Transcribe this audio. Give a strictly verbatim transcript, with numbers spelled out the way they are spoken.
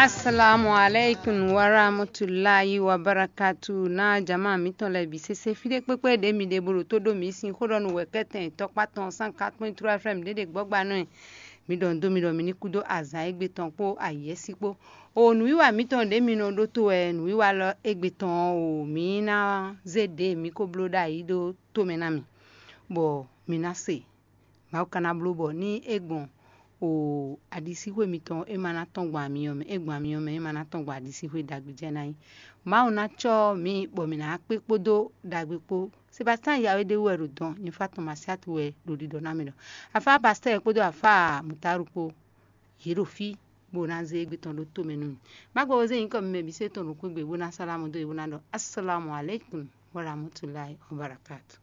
Assalamu alaikum warahmatullahi wabarakatu. Na jama mitɔn lɛ bi sese fide kpekpe ɖe mi ɖe bolo to ɖo mi sin xó ɖɔ nu wɛ kɛtɛn tɔkpa tɔn san quatre point trois F M ɖe ɖe gbɔgba nɔ. Mi ɖɔ do mi ɖɔ mi ní kúdó azan egbe tɔn kpó ayɛsi kpó. O nǔwiwa mitɔn ɖe mi nɔ ɖótó wɛ nǔwiwa lɔ egbe tɔn o mi ná zé ɖe mi ko bló ɖ'ayǐ ɖó tomɛ ná mi, bɔ mi ná se. Mawu ka ná bló bɔ ní é gbɔn o aɖisíxwé mitɔn é ma ná tɔ́n gbɔn amyɔ mɛ, é gbɔn amyɔ mɛ é ma ná tɔ́n gbɔn aɖisíxwé ɖagbe jɛ ná nyí. Mawu ná cɔ́ mi bɔ mi ná kpé kpódó ɖagbe kpó. Sebastian Yawe ɖé wú wɛ ɖo dɔn, nyɛ fá tɔn Masiatu wɛ ɖo ɖiɖɔ ná mi ɖɔ. Afá pastɛ́ɛ kpódó afá mutaru kpó, yě ɖo fí bó ná zé égbé tɔn ɖó tomɛ nú mi. Má gbɔ zé nyǐkɔ mi mɛ bǐ sɔ́ tɔn ɖo xwé gbe bó ná sálámù dó yě bó ná ɖɔ: Assalamu alaikum wa rahmatulahi wa barakatu.